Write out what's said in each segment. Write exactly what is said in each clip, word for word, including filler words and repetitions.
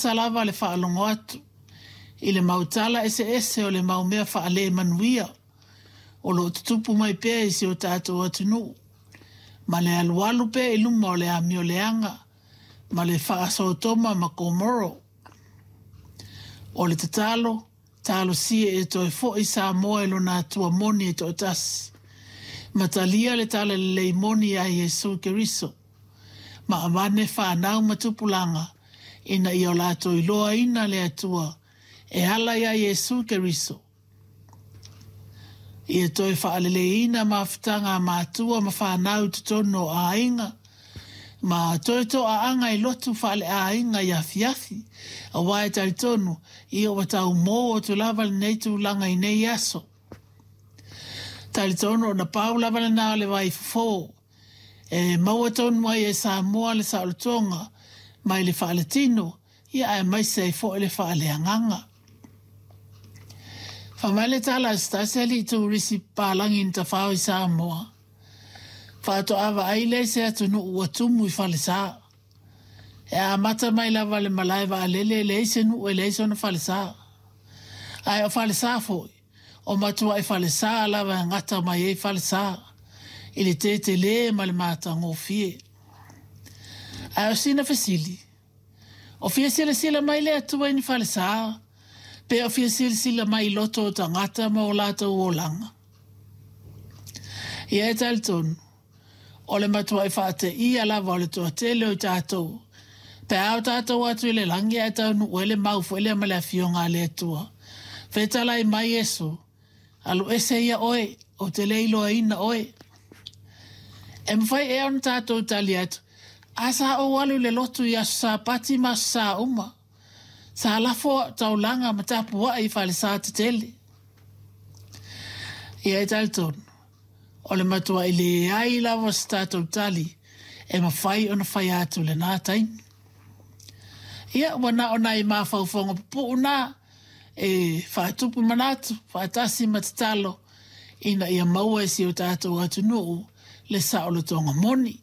Lava le faalogo atu i le mau tala eseese o le mau mea faale-manuia o lo o tutupu mai pea i si o tatou atunuu, ma le alualu pea i luma o le amio leaga ma le faasotoma ma Komoro. O le tatalo, talosia e toe foi Samoa i lona Atua moni e toatasi, ma talia le talalelei moni ia Iesu Keriso, ma avane whanau ma tupulaga ina ia o latou iloaina le Atua e ala ia Iesu Keriso. Ia toe faaleleina mafutaga a matua ma whanau i totonu o aiga, ma toe toaaga i lotu faaleaiga i afiafi, auā e talitonu, ia ua taumō atu lava lenei tulaga i nei aso. Talitonu ona pau lava lena o le vai fofo, e maua tonu ai e Samoa le saolotoga mai le faaletino, ia aemaise ai foi le faaleagaga. Fai mai le tala a se tasi alii turisi papalagi na tafao i Samoa, faatoa vaai lea i se atunuu ua tumu i falesa. E amata mai lava le malae vaalele e leai se nuu e leai sona falesa. Ae o falesa foi, o matuai falesa lava e gata mai ai falesa, i le tetele ma le matagofie. Ae o sina fesili, o fia silasila mai le Atua i ni falesa, pe o fia silasila mai i loto o tagata ma o latou olaga. Ia e talitonu, o le matuai faateia lava o le toatele o i tatou, pe a o tatou atu i le lagi ae taunuu ai le mau foi lea ma le afioga a le Atua. Fetalai mai Iesu, alu ese ia oe, ou te le iloaina oe. E mafai ea ona tatou tali atu, a sa ou alu i le lotu i aso Sapati ma aso Sa uma. Sa lafo au taulaga ma tapuai i falesa tetele. Ia e talitonu, o le matuai leai lava o se tatou tali e mafai ona fai atu i lena taimi. Ia, ua na o nai mafaufauga pupuu na e faatupu manatu, faatasi ma tatalo ina ia maua e si o tatou atunuu le saolotoga moni.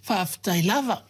Faafetai lava.